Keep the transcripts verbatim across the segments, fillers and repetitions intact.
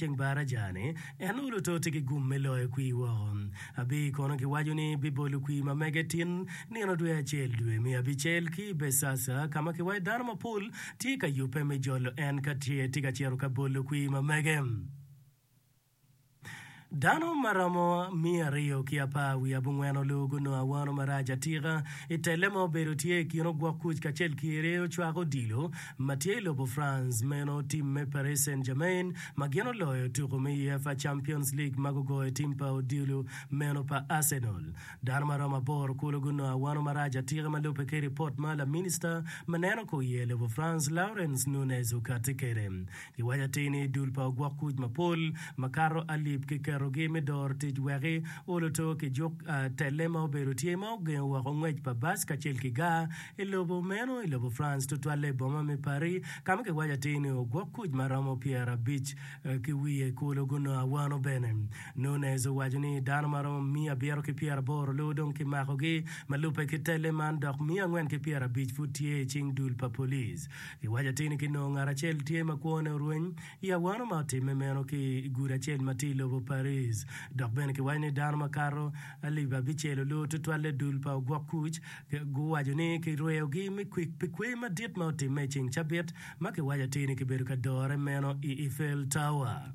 ceng baraja-ni, en oluto tye ki gum me loyo kwir woko. Abiy kono kiwaco ni bibolo kwir ma mege tin nino dwe acel dwe me abicel ki i Besasa ka ma kiwaco dano mapol tye ka yubbe me jolo en ka tye ka cito ka bolo kwir ma mege. Dano ma romo miya aryo ki apar wiye abongwen olu gunongo awano marac atika i telle ma obedo tye i kin ogwok kuc kacel ki ryeyo cwak odilo ma tye i lobo France meno tim me Paris Saint-Germain ma gin oloyo tuko me UEFA Champions League ma gugoyo tim pa odilo meno pa Arsenal. Dano ma romo aboro kulu gunongo awano marac atika ma lubbe ki ripot ma laminista ma neno kor iye lobo France Laurence Nunez okatti kwede. Giwaco atir ni dul pa ogwok kuc mapol makato alip kiketogi me doro tic weki oloto ki juk telle ma obedo tye ma ogengo woko ngwec pa bac kacel ki gar i lobo meno i lobo France tutwalle i boma me Paris ka ma kiwaco atir ni ogwok kuc ma romo pyerabic ki wiye kulu gunongo awano bene. Nunez owaco ni dano ma romo miya abiro ki pyeraboro lubo dong kimakogi ma lubbe ki telle man dok miya angwen ki pyerabic pud tye i cing dul pa police. Giwaco atir ni kinongo ngat acel tye ma kwone orweny i awano ma otimme meno ki i gudo acel ma tye i lobo Paris. Dok bene kiwaco ni dano makato alip abicel olubo tutwalle dul pa ogwok kuc guwaco ni kirweyogi me kwik pi kwer madit ma otimme i ceng cabit ma kiwaco atir ni kibedo ka dore meno i Eiffel Tower.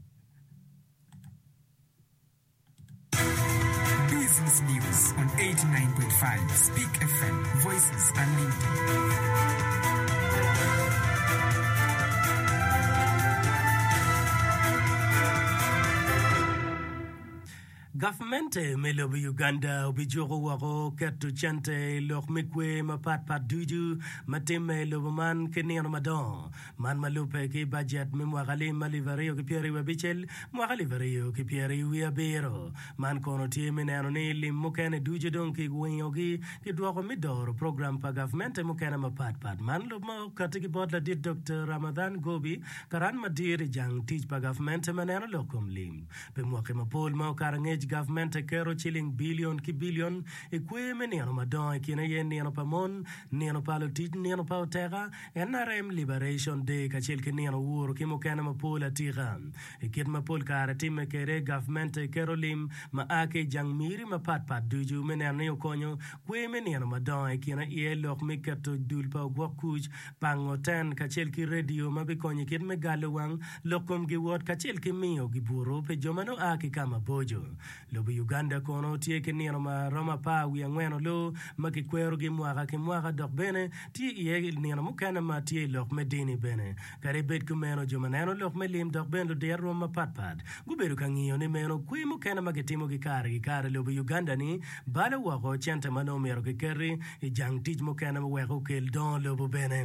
Business News on eighty nine point five Speak F M, Voices Unlimited. Gavmente me lobo Uganda obijuko woko keto cente i lok me kwer mapat pat ducu ma timme i lobo man ki nino madongo. Man ma lubbe ki bajet me mwaka alim alip aryo ki pyeraryo abicel, mwaka alip aryo ki pyeraryo wiye abiro. Man kono tye me neno ni lim mukene ducu dong kiwingogi kidwoko me doro program pa gavmente mukene mapat pat. Man lub ma okati ki bot ladit Doktor Ramadhan Gobi, karan madit i jang tic pa gavmente ma neno lok kom lim. Pi mwaki mapol ma okato angec, gavmente keto ciling bilion ki bilion i kwer me nino madongo i kine aye nino pa mon, nino pa lutic, nino pa oteka, N R M Liberation Day kacel ki nino Uhuru ki mukene mapol atika. I kit ma pol kare timme kwede, gavmente keto lim ma a ki i jang miri mapat pat ducu me neno ni okonyo kwer me nino madongo i kine iye lok me keto dul pa ogwok kuc, pango ten kacel ki redio ma bikonyo i kit me galo wang lok kom giwot kacel ki miyo gibuto pi jo ma nongo a ki ka maboco. Lobo Uganda kono tye ki nino ma romo apar wiye angwen olu ma kikwerogi mwaka ki mwaka dok bene tye iye nino mukene ma tye i lok me dini bene. Kadi bed kumeno, jo ma neno lok me lim dok bene ludiro rwom mapatpat gubedo ka ngiyo ni meno kwer mukene ma kitimogi kare ki kare i lobo Uganda-ni balo woko cente ma nongo myero kiketi i jang tic mukene wek okel dongo lobo bene.